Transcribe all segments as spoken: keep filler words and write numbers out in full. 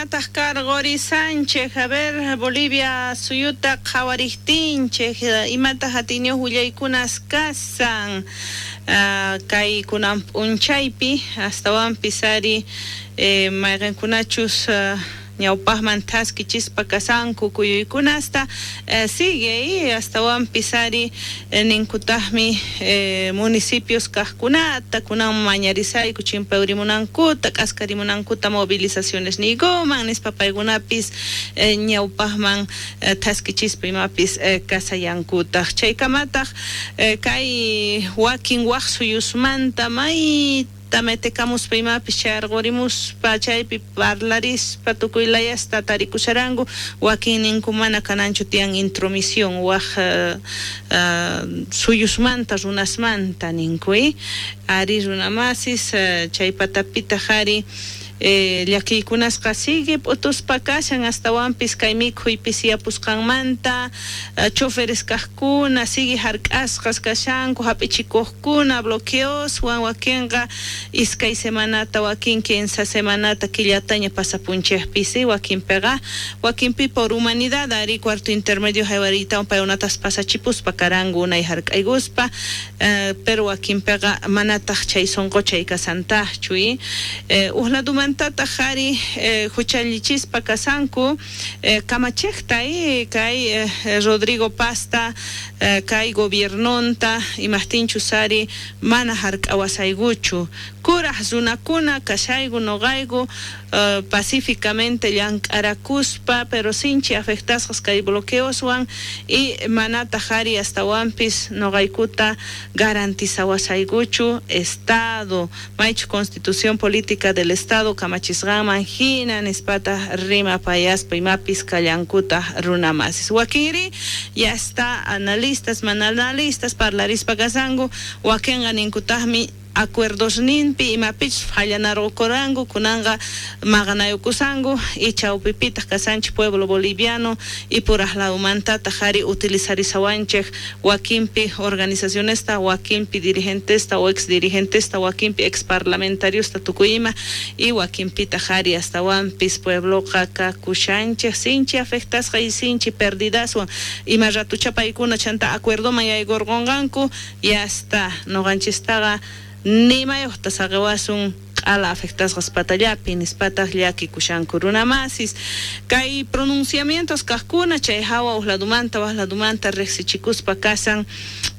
Imataj karqurisanchej? A ver, Bolivia suyuta qhawariktinchej, imataq atiyniyuq willaykunas kasan uh, kay kunan p'unchaypi, astawanpis ari eh, mayqinkunachus uh, ñawpaqman thaskichispa kasanku kuyuykunasta eh, sigue astawanpis ari eh, ninkutaqmi eh, municipios kaqkunata kunan mañarisayku chimpawrimunankuta k'askarimunankuta movilizaciones niykuman nispa paykunapis eh, ñawpaqman eh, thaskichispa imapis eh, kasayankutaq chaykamataq eh, kay wakin waq suyusmanta may tametekamuspa imapis chayarqurimuspa chaypi parlarispa tukuy layasta tarikusharanku wakin ninku mana kananchu tiyan intromisión waq uh, uh, suyusmanta runasmanta ninku ari runamasis uh, chay patapitaq ari Eh, llakiykunasqa sigue p'utuspa kashan astawanpis kay mikhuy pisiyapusqanmanta uh, choferes kaqkuna sigue hark'asqas kashanku hap'ichikuqkuna bloqueoswan wakinqa iskay semanata wakin kinsa semanata killataña pasapunchikpis wakinpiqa wakinpi por humanidad ari cuarto intermedio haywariytawan paykunatas pasachipuspa karanku unay hark'aykuspa uh, pero wakinpiqa manataq chay sunquchay kasantaqchu eh, uj laduman tataq ari eh, huchallichispa kasanku eh, kamachejta eh, kay eh, Rodrigo Pazta eh, kay gobiernonta imajtinchus ari mana hark'awasaykuchu kuraj runakuna kashayku noqayku uh, pacíficamente llank'arakuspa pero sinchi afectasqas kay bloqueoswan y manataq ari astawanpis noqaykuta garantizawasaykuchu Estado maychu Constitución Política del Estado kamachisqanman hina nispata rimapayaspa imapis kallankuta runamasis wakinri ya está analistas mana analistas parlarispa kasanku wakinqa ninkutaqmi acuerdos ninpi imapichus fallanarqukuranku kunanqa maqanayukusanku y chawpipitaq kasanchik pueblo boliviano y puraj ladumantataq ari utilizarisawanchik wakinpi organizacionesta wakinpi dirigentesta o ex dirigentesta wakinpi ex parlamentariosta tukuy ima y wakinpitaq ari astawanpis puebloqa kakushanchik sinchi afectasqa y sinchi perdidaswan ima ratucha paykuna chanta acuerdoman yaykurqunqanku y hasta noqanchistaqa nimayuqta saqiwasun q'ala afectasqas patallapi nispataq llakikushanku runamasis kay pronunciamientos kaqkuna chay hawa uj ladumanta waq ladumanta riqsichikuspa kasan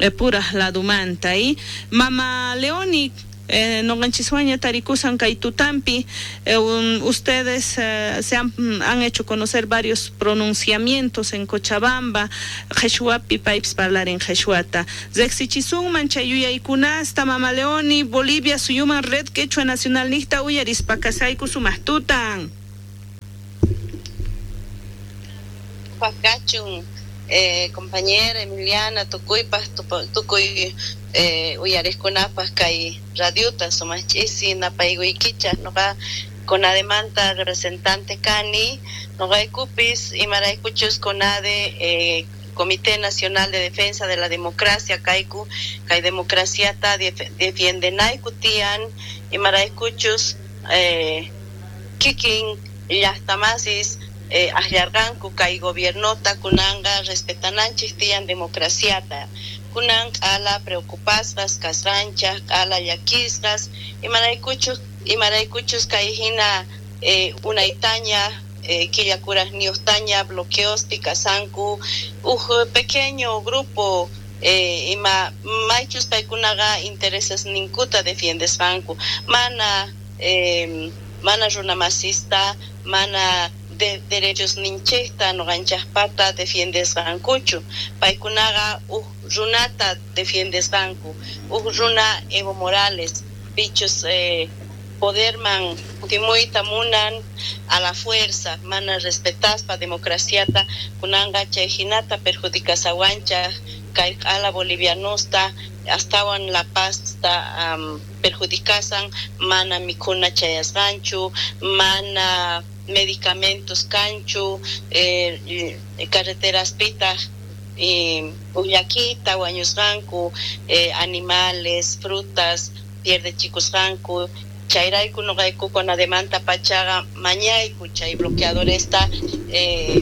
eh, puraj ladumanta y mama Leoni Eh, noqanchiswaña tarikusan kay tutampi eh, um, ustedes eh, se han, han hecho conocer varios pronunciamientos en Cochabamba qheshwapi paypis parlarin qheshwata riqsichisunman chay yuyaykunasta mama Leoni Bolivia suyuman Red Quechua Nacional niqta uyarispa kasayku sumaq tutan Kachun eh, compañera Emiliana tukuypaj tukuy eh, uyariqkunapaj kay radiota sumaq ch'isi napaykuykichaj noqa CONADEmanta representante kani noqaykupis imaraykuchus CONADE eh, Comité Nacional de Defensa de la Democracia kayku kay democraciata defiendenayku tiyan imaraykuchus eh, kikin llaqtamasis eh, akllarqanku kay gobiernota kunanqa respetananchik tiyan democraciata kunan q'ala preocupasqas kasqanchaj q'ala llakisqas imaraykuchus imaraykuchus kay hina eh, unaytaña eh, killakurajniyuqtaña bloqueospi kasanku uj pequeño grupo eh, ima maychus paykunaqa intereses ninkuta defiendesqanku mana eh, mana runamasista mana de derechos ninchikta noqanchaqpata defiendesqankuchu paykunaqa uj runata defiendesqanku uj runa Evo Morales pichus eh, poderman kutimuyta munan a la fuerza mana respetaspa democraciata kunanqa chay hinata perjudicasawanchaj kay q'ala bolivianosta astawan La Pazta um, perjudicasan mana mikhuna chayasqanchu mana medicamentos kanchu eh, carreteraspitaq eh, ullakita wañusqanku eh, animales frutas pierdechikusqanku Chayrayku noqayku CONADEmanta pachaqa mañayku chay bloqueadoresta eh,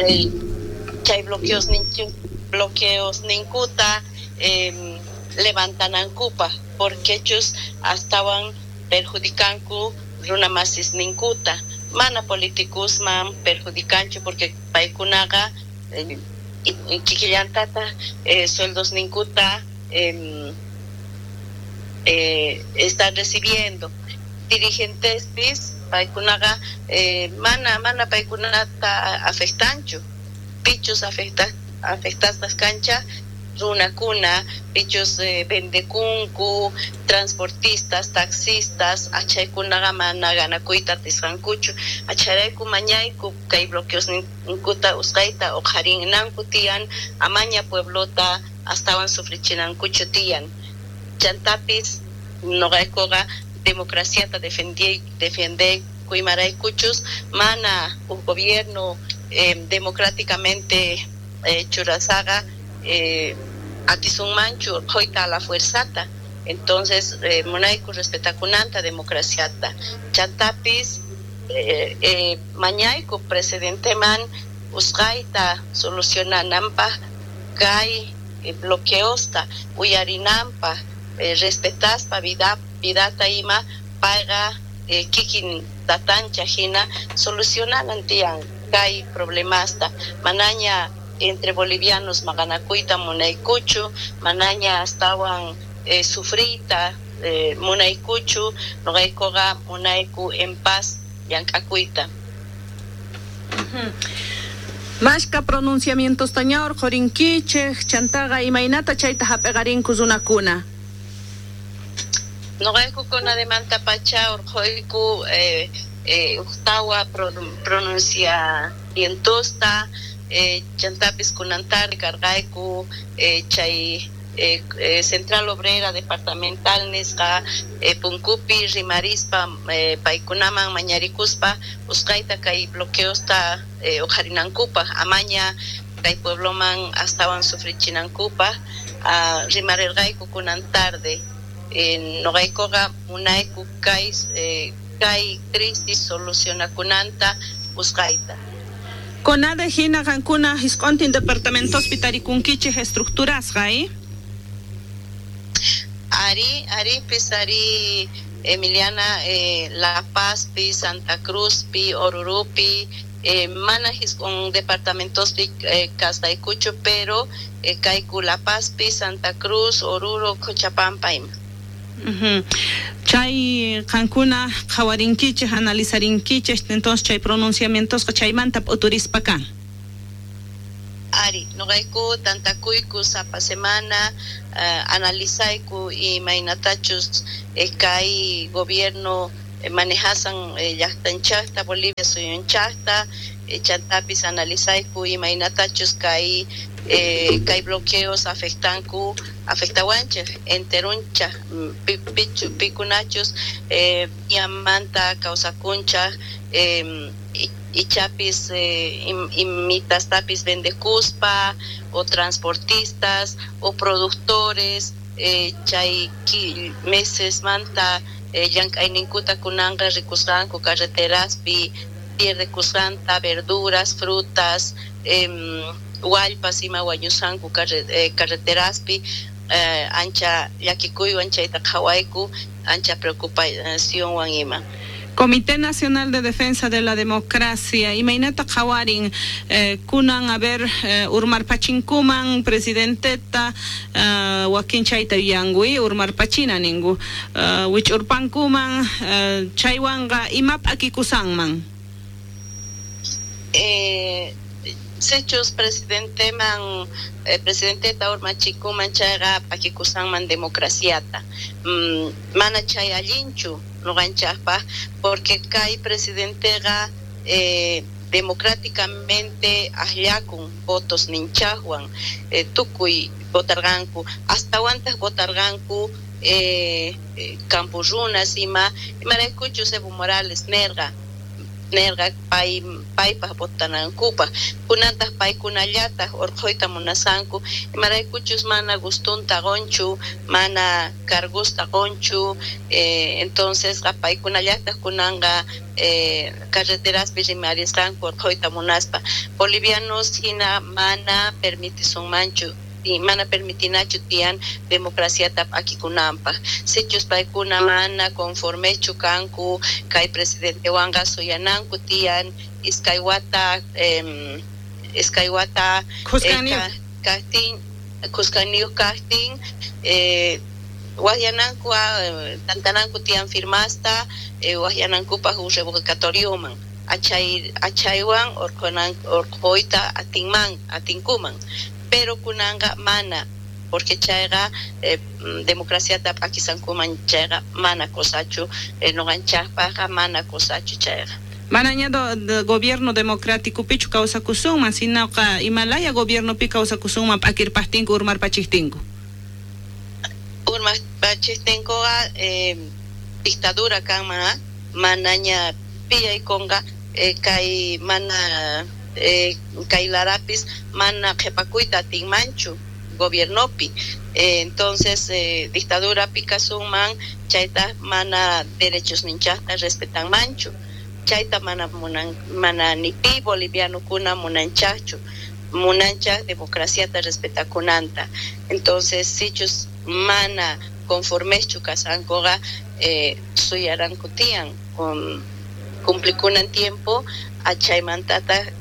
eh, chay bloqueos ninchu bloqueos ninkuta eh, levantanankupaj porque chus astawan perjudicanku runa masis ninkuta mana políticosman perjudicanchu porque paykunaqa eh, kikillantata eh, sueldos ninkuta eh, eh, están recibiendo dirigentespis paykunaqa eh, mana mana paykunata afectanchu pichus afecta afectasqas kancha runakuna pichus eh, vendekunku transportistas taxistas achaykunaqa mana ganakuyta atisqankuchu acharayku mañayku kay bloqueos ninkuta usqayta uqharinanku tiyan amaña pueblota astawan sufrichinankuchu tiyan chantapis noqaykuqa democraciata defendi defendeyku imaraykuchus mana uj gobierno eh, democráticamente eh, churasaqa eh, atisunmanchu urqhuyta a la fuerzata entonces eh, munayku respetakunanta democraciata chantapis eh, eh, mañayku presidenteman usqayta solucionananpaj kay eh, bloqueosta uyarinanpaj eh, respetaspa vida vidata ima payqa eh, kikin tatancha hina solucionanan tiyan kay problemasta manaña entre bolivianos maqanakuyta munaykuchu manaña astawan eh, sufriyta eh, munaykuchu noqaykuqa munayku en paz llank'akuyta. Mashka pronunciamientos taña urqhurinkichej chantaqa imaynata chayta hap'iqarinku runakuna. Noqayku CONADEmanta pacha urqhuyku eh, eh, ujtawa pronunciamientosta eh, chantapis kunantari karqayku eh, chay eh, eh, Central Obrera Departamental nisqa eh, punkupi rimarispa eh, paykunaman mañarikuspa usqayta kay bloqueosta eh, uqharinankupaj amaña kay puebloman astawan sufrichinankupaj uh, rimarirqayku kunan tarde eh, noqaykuqa munayku kay eh, kay crisis solucionakunanta usqayta. CONADE hina qankuna jisq'untin departamentospi tarikunkichej estructurasqa eh? Ari, ari pis ari Emiliana eh, La Paz pi Santa Cruz pi Orurupi eh, mana jisq'un departamentospi eh, kasqaykuchu pero eh, kayku La Paz pi Santa Cruz Oruro Cochabamba ima. Uh-huh. Chay qankuna qhawarinkichej analizarinkichej entonces chay pronunciamientosqa chaymanta p'uturispa kan. Ari, noqayku tantakuyku sapa semana uh, analizayku imaynatachus eh, kay gobierno eh, manejasan eh, llaqtanchaqta Bolivia suyunchaqta eh, chantapis analizayku imaynatachus kay eh, kay bloqueos afectanku afectawanchej enterunchaj pichu pikunachus eh, yamanta kawsakunchaj eh, ichapis eh, imitastapis vendekuspa o transportistas o productores eh, chay meses manta eh, llank'ayninkuta kunanqa rikusqanku carreteraspi pierdekusqanta verduras frutas eh, wallpas ima wañusqanku carre, carreteraspi eh, ancha llakikuywan chayta qhawayku ancha preocupacionwan ima. Comité Nacional de Defensa de la Democracia, imaynata qhawarin eh, kunan a ver eh, urmarpachinkuman presidenteta eh, wakin chayta yuyanku urmarpachina ninku eh, wich'urpankuman eh, chaywanqa ima p'akikusanman. Eh, sichus presidenteman eh, presidenteta urmachikuman chayqa p'akikusanman democraciata mm, mana chay allinchu noqanchaqpaj porque kay presidenteqa eh, democráticamente akllakun votos ninchaqwan eh, tukuy votarqanku astawantaq votarqanku eh, eh, campo runas ima imaraykuchus Evo Morales nerqa nerqa pay paypaj votanankupaj kunantaq paykunallataq urqhuyta munasanku imaraykuchus mana gustunta qunchu mana cargusta qunchu eh, entonces paykunallataq kunanqa eh, carreteraspi rimarisqanku urqhuyta munaspa bolivianos hina mana permitisunmanchu mana permitinachu tiyan democraciata p'akikunanpaj sichus paykuna mana conformechu kanku kay presidentewanqa suyananku tiyan iskay wata eh, iskay wata eh, kajtin khuskaniyuq kajtin eh, waqyananku tantananku tiyan firmasta eh, waqyanankupaj uj revocatorioman achay achaywan urqhunan urqhuyta atinman atinkuman pero kunanqa mana porque chayqa eh, democraciata p'akisankuman chayqa mana cosachu eh, nuqanchaqpaqqa mana cosachu chayqa manaña do, gobierno democrático pichu kawsakusunman sinoqa imalaya gobiernopi kawsakusunman p'akirpajtinku urmarpachiqtinku urmarpachiqtinkuqa eh, dictadura kanman manaña piyaykunqa eh, kay mana eh, kay larapis mana qhipakuyta atinmanchu gobiernopi eh, entonces eh, dictadurapi kasunman chayta mana derechos ninchaqta respetanmanchu chayta mana munan mana ni pi bolivianokuna munanchaqchu munanchaq democraciata respetakunanta entonces sichus mana conformeschu kasankuqa eh, suyaranku tiyan con cumplikunan tiempo achaymantataq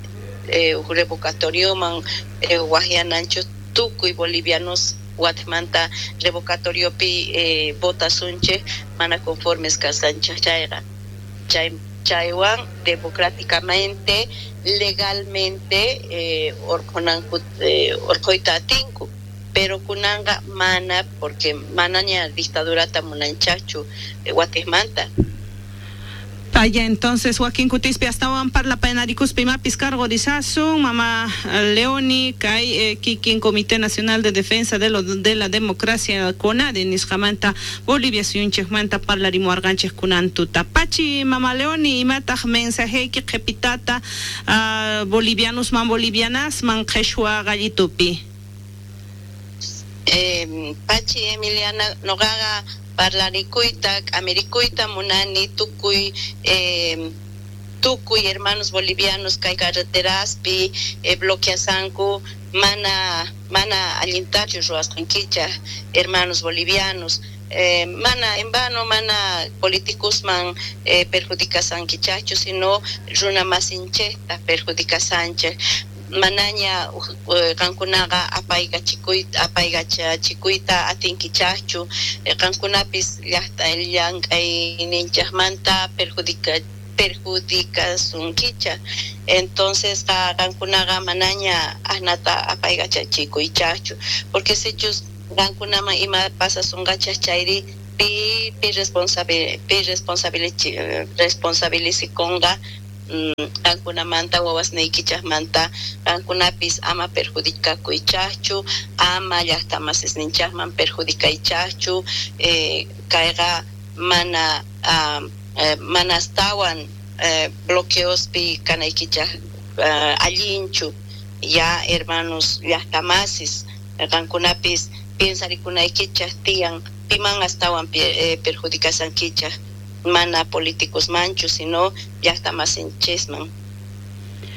eh, revocatorioman eh, waqyananchu tukuy bolivianos watimanta revocatoriopi eh, votasunchej mana conformes kasanchej chayqa chay chaywan democráticamente legalmente eh, urqhunanku eh, urqhuyta atinku pero kunanqa mana porque manaña dictadurata munanchaqchu eh, watimanta. Vaya, entonces wakin kutispi astawan parlapayanarikuspa imapis cargorizasun mama Leoni kay eh, kikin Comité Nacional de Defensa de, lo, de la Democracia CONADE nisqamanta Bolivia suyunchikmanta parlarimuwarqanchik kunan tuta pachi mama Leoni imataq mensajeyki qhipitata uh, bolivianosman bolivianasman qheshwa gallitupi eh, pachi Emiliana noqaqa parlarikuyta k'amirikuyta munani tukuy eh, tukuy hermanos bolivianos kay carreteraspi eh, bloqueasanku mana mana allintachu ruwasqankichaq hermanos bolivianos eh, mana en vano mana políticosman eh, perjudicasankichaqchu sino runa masinchikta perjudicasanchik manaña qankunaqa apaykachikuyta apaykachachikuyta atinkichaqchu qankunapis llaqta llank'ayninchaqmanta perjudica perjudicasunkichaq entonces qankunaqa manaña asnata apaykachachikuychaqchu porque sichus qankunaman ima pasasunqachaq chayri pi pi responsable pi responsabilichi responsabilizikunqa qankunamanta wawasniykichaqmanta qankunapis ama perjudicakuychaqchu ama llaqtamasisninchaqman perjudicaychaqchu eh, kayqa mana uh, eh, mana astawan eh, bloqueospi kanaykichaq uh, allinchu ya hermanos llaqtamasis qankunapis piensarikunaykichaq tiyan piman astawan eh, perjudicasankichaq mana políticos manchu sino llaqtamasinchikman.